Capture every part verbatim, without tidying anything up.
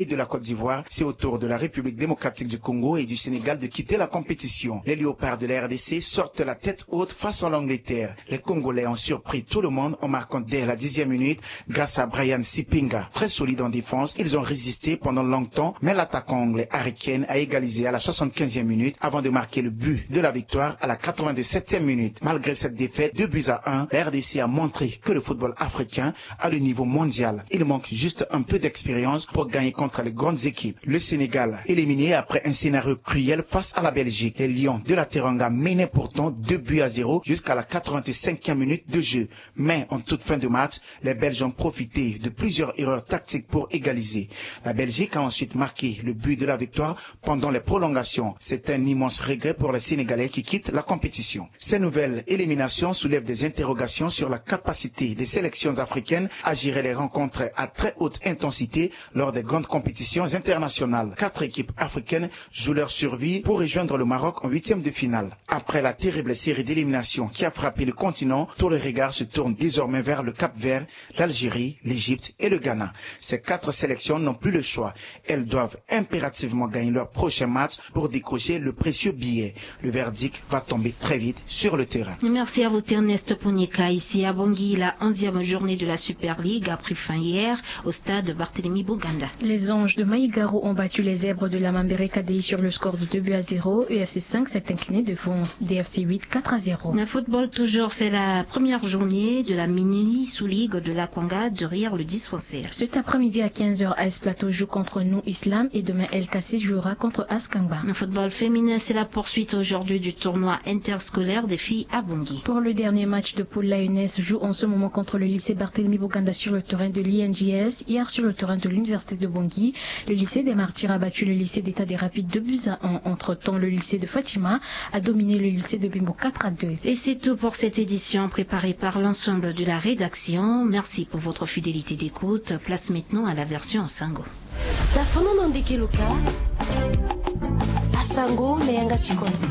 et de la Côte d'Ivoire, c'est au tour de la République démocratique du Congo et du Sénégal de quitter la compétition. Les Léopards de la R D C sortent la tête haute face à l'Angleterre. Les Congolais ont surpris tout le monde en marquant dès la dixième minute grâce à Brian Sipinga. Très solide en défense, ils ont résisté pendant longtemps, mais l'attaquant anglais Harry Kane a égalisé à la soixante-quinzième minute avant de marquer le but de la victoire à la quatre-vingt-dix-septième minute. Malgré cette défaite, deux buts à un, la R D C a montré que le football africain à le niveau mondial. Il manque juste un peu d'expérience pour gagner contre les grandes équipes. Le Sénégal, éliminé après un scénario cruel face à la Belgique. Les Lions de la Teranga menaient pourtant deux buts à zéro jusqu'à la quatre-vingt-cinquième minute de jeu. Mais en toute fin de match, les Belges ont profité de plusieurs erreurs tactiques pour égaliser. La Belgique a ensuite marqué le but de la victoire pendant les prolongations. C'est un immense regret pour les Sénégalais qui quittent la compétition. Ces nouvelles éliminations soulèvent des interrogations sur la capacité des sélections africaines à gérer les rencontres à très haute intensité lors des grandes compétitions internationales. Quatre équipes africaines jouent leur survie pour rejoindre le Maroc en huitième de finale. Après la terrible série d'éliminations qui a frappé le continent, tous les regards se tournent désormais vers le Cap-Vert, l'Algérie, l'Égypte et le Ghana. Ces quatre sélections n'ont plus le choix. Elles doivent impérativement gagner leur prochain match pour décrocher le précieux billet. Le verdict va tomber très vite sur le terrain. Merci à vous, Ernest Ponyeka. Ici à Bangui, la onzième journée de la Super League a pris fin hier au stade Barthélemy Boganda. Les Anges de Maïgaro ont battu les Zèbres de la Mambereka Dei sur le score de deux buts à zéro. E F C cinq s'est incliné devant D F C huit, quatre à zéro. Le football toujours, c'est la première journée de la mini sous-ligue de la Kwanga derrière le dispensaire. Cet après-midi à quinze heures, A S Plateau joue contre Nou Islam et demain, El Kassi jouera contre Askangba. Le football féminin, c'est la poursuite aujourd'hui du tournoi interscolaire des filles à Bangui. Pour le dernier match de poule, l'A N S joue en ce moment contre le lycée Barthélemy Boganda sur le terrain de l'I N J S, hier sur le terrain de l'université de Bangui. Le lycée des Martyrs a battu le lycée d'État des Rapides deux buts à un. Entre-temps, le lycée de Fatima a dominé le lycée de Bimbo quatre à deux. Et c'est tout pour cette édition préparée par l'ensemble de la rédaction. Merci pour votre fidélité d'écoute. Place maintenant à la version en sango. Tafono na ndeke loka. Asango na yanga ti kodro.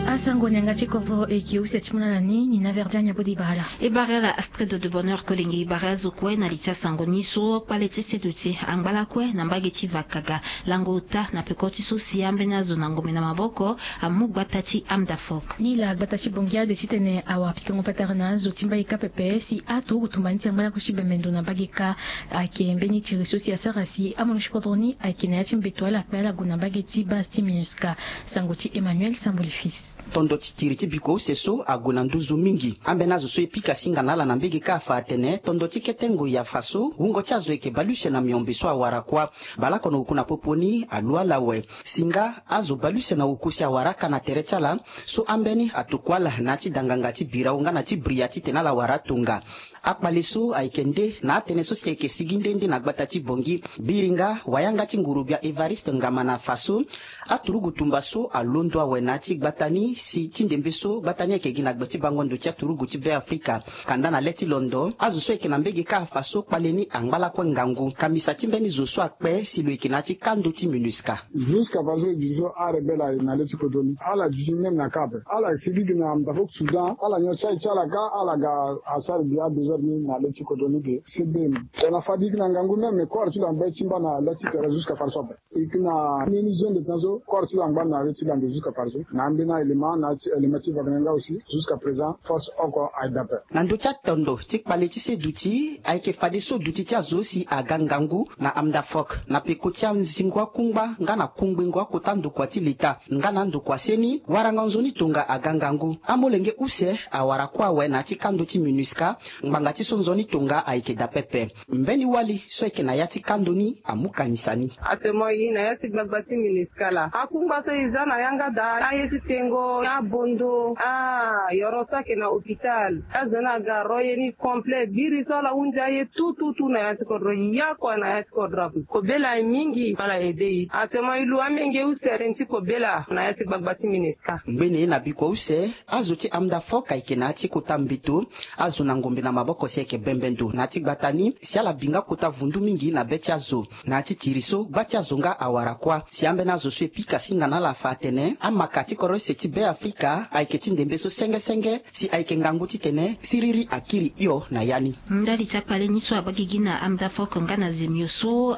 Asango na yanga ti kodro e ke use ti mu na ala ni, ni na verdi anya bodi bara ala. E bara ala Astrid de Bonheur Kolenge. E bara azo kue na li ti asango ni so kpale ti seduti angba lakue na mbage ti Vakaga, lango ota na peko ti so si ambeni azo na ngombe na maboko amu gbata ti Amdafok. Ni laa gbata ti Bangui ade titene awara pikango patara na azo ti mbage kâ pepe si aturugu tumba ni ti angba lakue ti bembe ndo na mbage kâ. Ayeke mbeni tiri so si asara si amono ti kodro ni ayeke na ya ti mbeto ala kpe ala gue na mbage ti base ti MINUSCA. Sango ti Emmanuel Samboli Fils. Tondo ti tiri ti biko use so ague na nduzu mingi. Ambeni azo so e pika singa na ala na mbage kâ afa atene tondo ti kete ngoi afa so wungo ti azo ayeke baleuse na miombe so awara kuâ. Baleoko na oku na popo ni alu ala awe. Si nga azo baleuse na oku si awara aka na tere ti ala so ambeni atokua ala na ya ti danganga ti birao nga na ti bria titene ala wara atonga. Akpale so ayeke nde na atënë so si ayeke sigi nde nde na gbata ti Bangui. Biri nga wayanga ti nguru-gbia Évariste Ngamana afa so aturugu tumba so alondo awe na ya ti gbata ni si ti ndembe so gbata ni ayeke gi na gbe ti bango ndo ti aturugu ti Be Afrika. Kanda na le ti londo azo so ayeke na mbage kâ afa so kpale ni angba lakue ngangu. Kamisa ti mbeni zo so akpe si lo yeke na ya ti kando ti MINUSCA. Jusqu'à faso e duti so arebelle aye na le ti kodro ni ala duti même na kâ ape. Ala sigi gi na Amdafok Soudan ala nyon si aye ti ala kâ ala ga asara gi adésordre ni na le ti kodro ni ge. Cbm tongana fade e yeke na ngangu même corps ti lo angba ti mba na le ti tere jusqu'à faso ape. E yeke na mbeni zone de temps so corps ti lo angba na le ti lando jusqu'à faso na ambeni élément na ti élément ti Wagner nga aussi. Jusqu'à présent force oko aye dape. Na ndö ti atondo ti kpale ti seduti ayeke fadeso duti ti azo si aga ngangu na Amdafok na peko ti anzingo akungba nga na kungbengo akota ndokua ti leta nga na andokua seni. Warango nzoni tonga aga ngangu. Amolenge use awara kuâ awe na ya ti kando ti MINUSCA. Ngbanga ti so nzoni tonga ayeke daa pepe. Mbeni wali so ayeke na ya ti kando ni amu kangisa ni. Actuellement e na ya ti gbagba ti MINUSCA laa. Akungba so e za na yanga daa aye ti tengo abondo. Ah, yoro so ayeke na hôpital. Azo ni aga ro ye ni complet. Biri so ala hunzi aye tout tout tout na ya ti kodro. Yakua na ya ti kodro ape. Kobela aye mingi ala aide e. Actuellement e lu amenge use tënë ti kobela na ya ti gbagba ti MINUSCA. Ngbene na bikua use azo ti Amdafok ayeke na ya ti kota mbeto. Azo na ngombe na maboko si ayeke bembe ndo na ya ti gbata ni si ala bi nga kota vundu mingi na be ti azo. Na ya ti tiri so gba ti azo nga awara kuâ si ambeni azo so e pika singa na ala afa atene amaka ti kodro use ti Beafrika ayeke ti ndembe so senge senge si ayeke ngangu titene siriri akiri hio na ya ni. Ndali ti akpale ni so abagigi na Amda Fok nga na Zemio so.